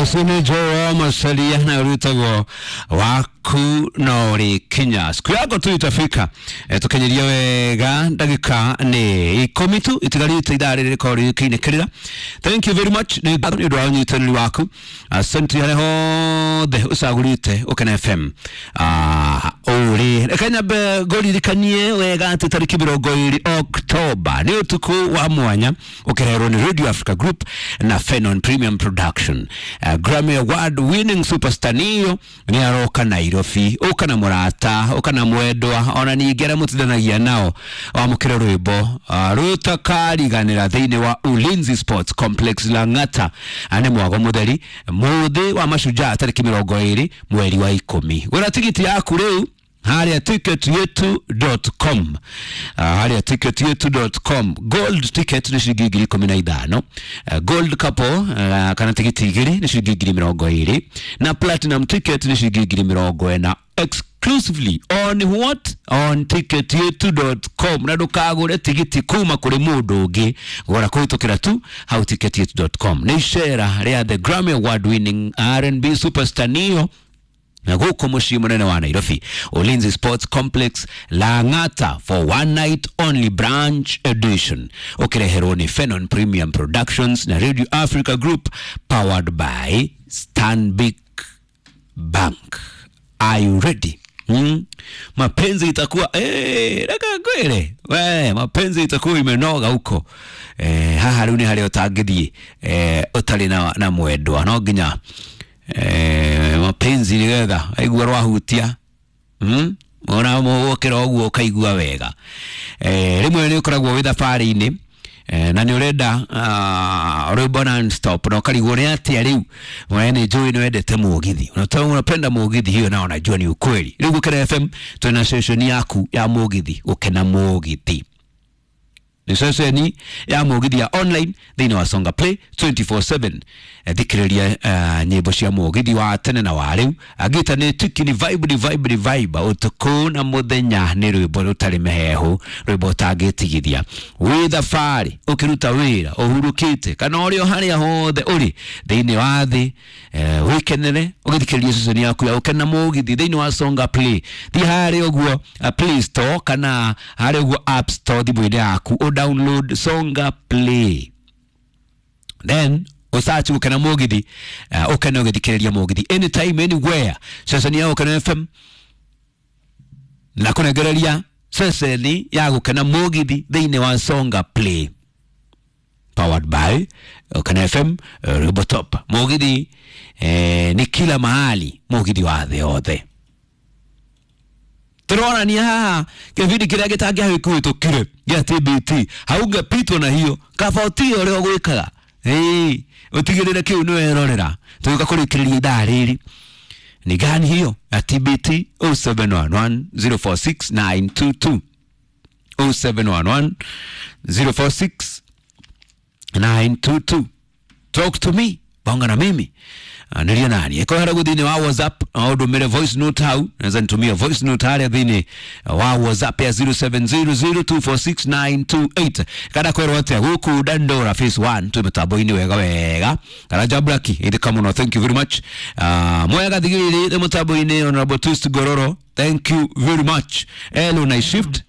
Ũcio Joe Masalia na rwĩtagwo waku no rĩkinya siku yako tu itafika. Tukinyirie wega ndagĩka nĩ 10 tu itigarĩte ithaa rĩrĩ rĩkorwo rĩkĩinĩkĩrĩra. Thank you very much nĩ ũndũ wa ũnyitanĩri waku, asante harĩa hothe ũcagũrĩte Ũkena FM. Ũrĩ reke nyambe ngũririkanie wega atĩ tarĩki 20 Oktoba nĩ ũtukũ wa mwanya ũkĩreherwo nĩ Radio Africa Group na Fenon Premium Production. Grammy Award winning superstar Neo nĩ aroka Nairobi, ũka na mũrata, ũka na mwendwa, ona ningĩ arĩa mũtindanagia nao wamũkĩre rwĩmbo rũtakariganĩra thĩinĩ wa Ulinzi Sports Complex Lang'ata. Nĩ mwago mũtheri mũthĩ wa mashujaa tarĩki 20 mweri wa 10. Gũra tigiti yaku rĩu haria ticketyetu.com, haria ticketyetu.com. Gold ticket nĩ ciringi 15,000, gold couple kana tigiti 2 nĩ ciringi 20,000, na platinum ticket nĩ ciringi 40,000 exclusively on what? On ticketyetu.com. Na ndũkagũre tigiti kuma kũrĩ mũndũ ũngĩ, gũra kũhĩtũkĩra tu hau ticketyetu.com. Nĩ icera rĩa the Grammy Award winning R&B superstar Neo na gũkũ mũciĩ mũnene wa Nairobi, Ulinzi Sports Complex Lang'ata, for one night only branch edition, ũkĩreherwo nĩ Fenon Premium Productions na Radio Africa Group, powered by Stanbic Bank. Are you ready? Mapenzi itakuwa reka ngwĩre we, mapenzi itakuwa imenoga huko. Haha rĩu nĩ harĩa ũtangĩthiĩ ũtarĩ na mwendwa, no nginya mapenzi nĩgetha aigua rwahutia, ona mũgũkĩra ũguo ũkaigua wega. Rĩmwe nĩ ũkoragwo wĩ thabarĩ-inĩ na nĩ ũrenda rwĩmbo non-stop na ũkarigwo nĩ atĩa rĩu. We nĩ njũĩ nĩ wendete mũgithi, unapenda mũgithi, hiyo nao najua ni ukweli. Rĩu Gũkena FM twĩna session yaku ya mũgithi, Gũkena Mũgithi nĩ ceceni ya mũgithi ya online thĩinĩ wa Songa Play 24/7. Thikĩrĩria nyĩmbo cia mũgithi wa tene na wa rĩu, angĩta nĩ tiki, ni vibe, ni vibe, ni vibe ũtukũ na mũthenya, nĩ rwĩmbo rũtarĩ mĩhehu, rwĩmbo ũtangĩtigithia wĩ thabarĩ, ũkĩruta wĩra, ũhurũkĩte, kana ũrĩ o harĩa hothe ũrĩ thĩinĩ wa thĩ. Wĩkenere ũgĩthikĩrĩria ceceni yaku ya Ũkena Mũgithi thĩinĩ wa Songa Play. Thiĩ harĩa ũguo Play Store kana harĩa ũguo App Store thimũ-inĩ yaku, download Songa Play, then usearch Gukena Mugithi, ukene ugithikiriria mugithi anytime anywhere. Ceceni ya Gukena FM na kunegereria ceceni ya Gukena Mugithi thiini wa Songa Play, powered by Gukena FM, Robotop mugithi. Ni kila mahali, mugithi wa thĩ yothe. Turonania haha kĩbindi kĩrĩa gĩtangĩahĩkũhĩtũkire gĩa TBT, haungepitwo na hiyo kaba ũtige ũrĩa ũgwĩkaga, ũtigĩrĩre kĩu nĩ werorera. Tũgĩũka kũrĩkĩrĩria ithaa rĩrĩ ni gani hiyo ya TBT? 0711 046 922, 0711 046 922. Talk to me, bonga na mimi, niria nani eko hara thĩinĩ wa WhatsApp, no ũndũmĩre voice note hau, naweza nitumia voice note harĩa thĩinĩ wa WhatsApp ya 0700246928. Kana kwĩrwo atĩa gũkũ Dandora phase 1 twĩ mĩtambo-inĩ wega wega. Kana Jablaki ithika mũno, thank you very much. Mwega thigiriri nĩ mũtambo-inĩ, Honorable Twist Gororo, thank you very much. Hello, night shift.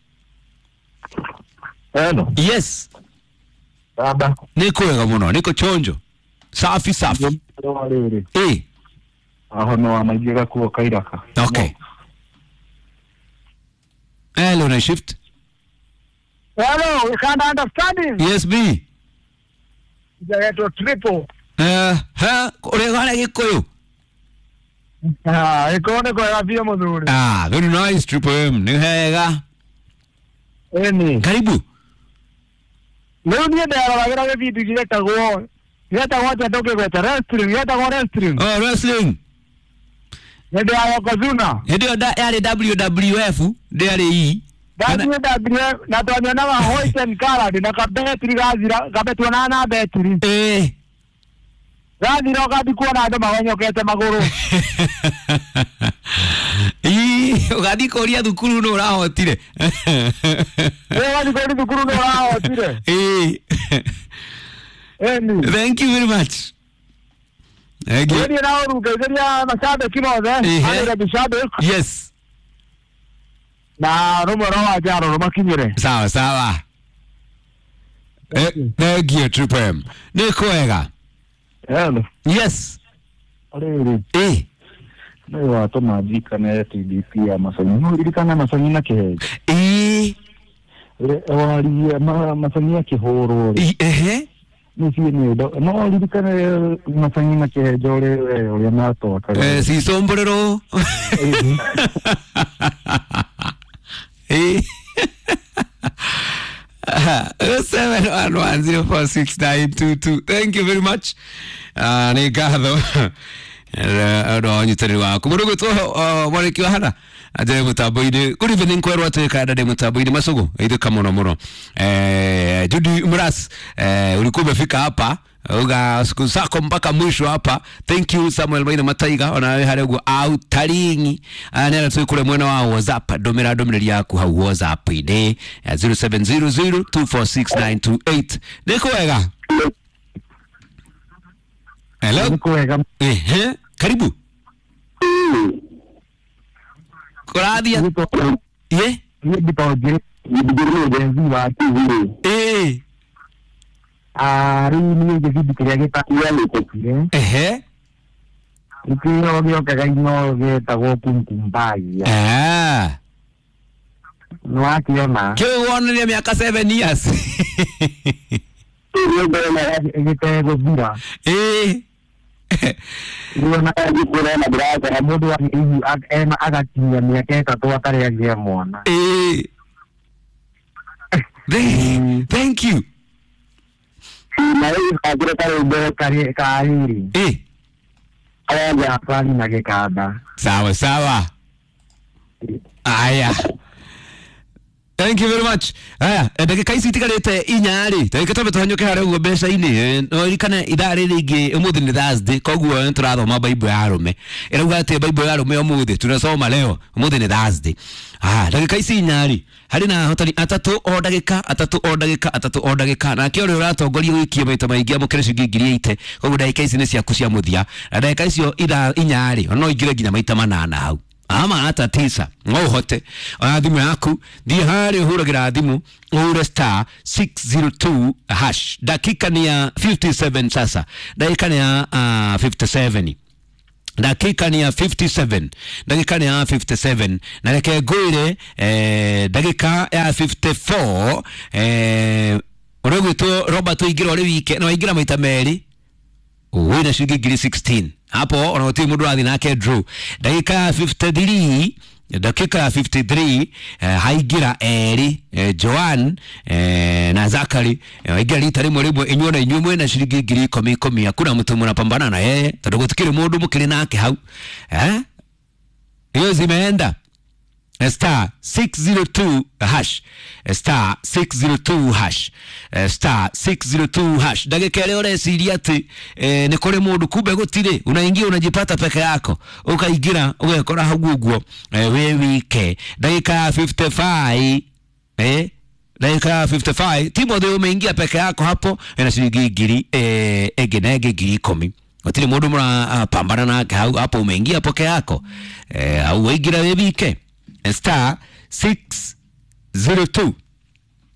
Hello. Yes. Baba. Niko wega mũno, niko chonjo, safi safi. Aho no amaingĩ gakuo kairaka. Okay. Hello, night shift. Hello, you can't understand him. Yes, me. Jagetwo triple. Ha, ũrĩ harĩa Gĩkũyũ? Ah, ĩkorwo nĩ kwega biũ mũthuri. Ah, very nice, Triple M. Nĩ hega. Ĩni. Karibu. Rĩu niĩ nderoragĩra gĩbindi gĩetagwo atĩa ndũngĩgweta wrestling, gĩetagwo wrestling. Oh, wrestling. Hĩndĩ ya Yokozuna. Hĩndĩ ĩyo yarĩ WWF, ndĩarĩ E. WWF, na twanyonaga white and colored na kabetiri gathira, kabetuonaga na betiri. Gathira ũgathiĩ kuona andũ magonyokete magũrũ. Ii, ũgathiĩ kũria thukuru nũ ũrahotire. Ũgathiĩ kũria thukuru nũ ũrahotire. Thank you very much. Thank you. Nĩ na ũru ngeithĩria macambĩki mothe. Ehe. Arĩ macambĩki. Yes. Na rũmwe rwa Wanjaro rũmakinyĩre. Sawa sawa. Thank you, Triple M. Nĩ kwega. Hello. Yes. Rĩrĩ Eh. nĩ watũma njikane TDP ya Masanyi. No ririkana Masanyi na Kĩhenjo. Eh. Waririe Masanyi akĩhũrwo rĩ. Ehe. Nĩ nĩ no ririkane Masanyi na Kĩhenjo rĩ we ũrĩa matwakaga. Eh, si sombrero. Eh. 711046922. Thank you very much. Nĩ ngatho ũndũ wa ũnyitanĩri waku mũndũ gwĩtwo mwarĩki wa hana atĩ mũtambo-inĩ good evening kwerwo atĩ kanda ndĩ mũtambo-inĩ macũgũ ithĩka mũno mũno. Judy Mras, ulikuwa umefika hapa uga siku zako mpaka mwisho hapa. Thank you Samuel Maina Mataiga ona we harĩa ũguo autaringi nĩ arĩa kũrĩa mwena wa WhatsApp ndũmĩra ndũmĩrĩri yaku hau WhatsApp-inĩ 0700246928. Nĩ kwega. Hello. Nĩ kwega. Ehe, karibu. Kũrathia ye. Niĩ ndĩtonjĩrĩ Gen Z wa TV. Eh. Rĩu niĩ gĩbindi kĩrĩa gĩtagwo Ehe. gĩkĩo gĩokaga ino gĩtagwo Kumkumbagia. Ah. Nĩwakĩona. Kĩu wonania mĩaka 7 years. Gĩtegũthira. Eh. Rĩu ona ngĩkũrona ndĩrakora mũndũ wa hihi ena agakinyia mĩaka 3 atarĩ agĩa mwana. Eh. Thank you. Na rĩu gakĩre karwĩmbo karĩrĩ. Eh. Karĩa Afani na gĩkanda. Sawa sawa. Aya. Thank you very much. Aya, ndagĩka ici itigarĩte inya rĩ, ndagĩka twambe tũhanyũke harĩa ũguo mbeca-inĩ. No ririkane ithaa rĩrĩ rĩngĩ ũmũthĩ nĩ Thursday, koguo nĩ tũrathoma Bible ya arũme. Ĩrauga atĩ Bible ya arũme ũmũthĩ tunasoma leo, ũmũthĩ nĩ Thursday. Ah, ndagĩka ici inya rĩ, harĩ na ahotani atatũ o ndagĩka, atatũ o ndagĩka, atatũ o ndagĩka. Nake ũrĩa ũratongoria gũikia maita maingĩ amũkĩre ciringi 80,000. Koguo ndagĩka ici nĩ ciaku cia mũthia. Na ndagĩka icio ithaa inya rĩ, no ũingĩre nginya maita manana hau ama hata tisa no ũhote. Oya thimũ yaku thiĩ harĩa ũhũragĩra thimũ ũhũre star 602 hash. Dakika ni ya 57 sasa, dakika ni ya 57, dakika ni ya 57, dakika ni ya 57. Na reke ngwĩre ndagĩka ya 54 ũrĩa ũgwĩtwo Robert ũingĩra ũrĩ wike na waingĩra maita merĩ wĩna ciringi 16,000 hapo ona gũtirĩ mũndũ ũrathiĩ nake draw. Ndagĩka ya 53, dakika ya 53 haingĩra erĩ Joan na Zakari waingĩra rita rĩmwe rĩmwe inyuĩ na inyuĩ mwĩna ciringi 10,000 10,000. Hakuna mtu mnapambana na yeye tondũ gũtikĩrĩ mũndũ mũkĩrĩ nake hau. Hiyo zimeenda. Star 602 hash, star 602 hash, star 602 hash. Ndagĩka ĩrĩa ũreciria atĩ nĩ kũrĩ mũndũ kumbe gũtirĩ, unaingia unajipata peke yako, ũkaingĩra ũgekora hau ũguo wĩ wike. Ndagĩka ya 55 dakika ya 55 Timothy umeingia peke yako hapo ena ciringi ngiri ĩngĩ na ĩngĩ 10,000. Gũtirĩ mũndũ mũrapambana nake hau hapo, umeingia peke yako hau waingĩra wĩ wike. Star 602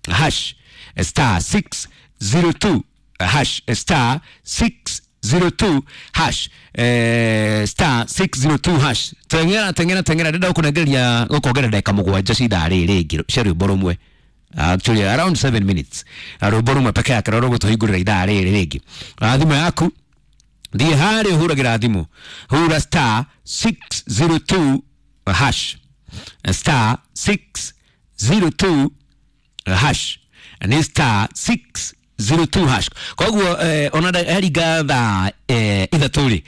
hash, star 602 hash, star 602 hash, star 602 hash. Teng'era teng'era teng'era, ndĩrenda gũkũnengereria gũkuongerera ndagĩka mũgwanja cia ithaa rĩrĩ rĩngĩ cia rwĩmbo rũmwe. Actually around 7 minutes rwĩmbo rũmwe peke yake rũrĩa rũgũtũhingũrĩra ithaa rĩrĩ rĩngĩ. Thimũ yaku thiĩ harĩa ũhũragĩra thimũ, hũra star 602 hash, star 602 hash, nĩ star 602 hash. Koguo ona eringa thaa 3 rĩ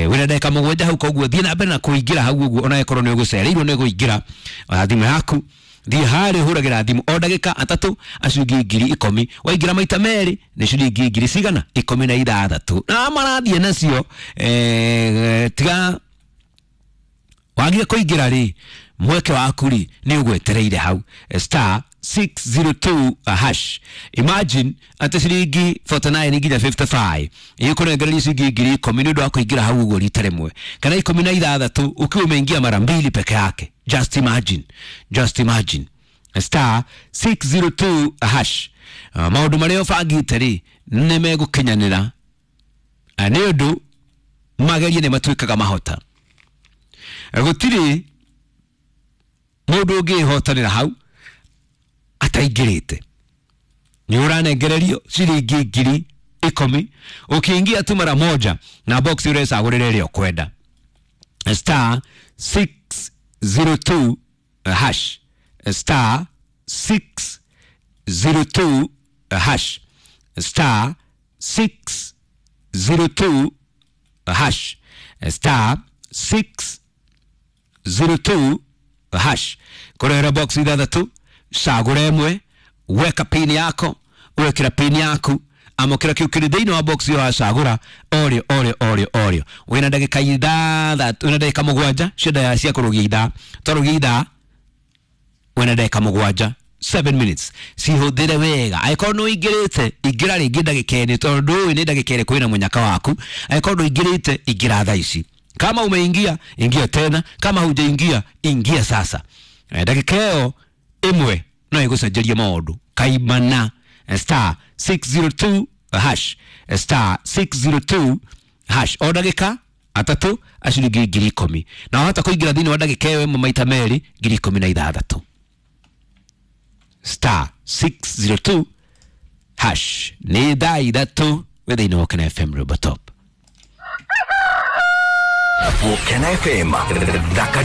wĩna ndagĩka mũgwanja hau, koguo thiĩ na mbere na kũingĩra hau ũguo ona ĩkorwo nĩ ũgũcereirwo nĩ kũingĩra. Oya thimũ yaku thiĩ harĩa ũhũragĩra thimũ o ndagĩka atatũ aciringi 10,000. Waingĩra maita merĩ nĩ ciringi ngiri cigana 16. Na marathiĩ nacio tiga wagire kũingĩra rĩ mweke waku rĩ nĩ ũgwetereire hau. Star 602 hash. Imagine atĩ ciringi 49 nginya 55 ĩkũnengereria ciringi 10,000 nĩ ũndũ wa kũingĩra hau ũguo rita rĩmwe, kana 16 ukiwa umeingia mara mbili peke yake. Just imagine, just imagine. Star 602 hash. Maũndũ marĩa ũbangĩte rĩ nĩ megũkinyanĩra, nĩ ũndũ magerie nĩ matuĩkaga mahota. Gũtirĩ mũndũ ũngĩhotanĩra hau ataingĩrĩte. Nĩ ũranengererio ciringi 10,000 ũkĩingia tu mara moja, na box ũrecagũrĩra ĩrĩa ũkwenda. Star 602 hash, star 602 hash, star 602 hash, star 602 hash. Kũrehera box ithathatũ, cagũra ĩmwe, weka pin yako, wekĩra pin yaku, amũkĩra kĩu kĩrĩ thĩinĩ wa box ĩyo wacagũra, orĩo orĩo orĩo orĩo. Wĩna ndagĩka ithathatũ, wĩna ndagĩka mũgwanja cia cia kũrũgia ithaa, twarũgia ithaa wĩna ndagĩka mũgwanja, 7 minutes, cihũthĩre wega. Angĩkorwo nĩ ũingĩrĩte, ingĩra rĩngĩ ndagĩka ĩnĩ, tondũ ndũĩ nĩ ndagĩka ĩrĩkũ wĩna mũnyaka waku. Angĩkorwo ndũingĩrĩte, ingĩra thaa ici. Kama umeingia, ingia tena. Kama hujaingia, ingia sasa. Ndagĩka ĩyo ĩmwe no ĩgũcenjerie maũndũ kaimana. Star 602 hash, star 602 hash. O ndagĩka atatũ aciringi 10,000, na wahota kũingĩra thĩinĩ wa ndagĩka ĩyo ĩmwe maita merĩ, 16,000. Star 602 hash. Nĩ thaa ithatũ wĩ thĩinĩ wa Ũkena FM Robo Top. Ũkena FM thakari.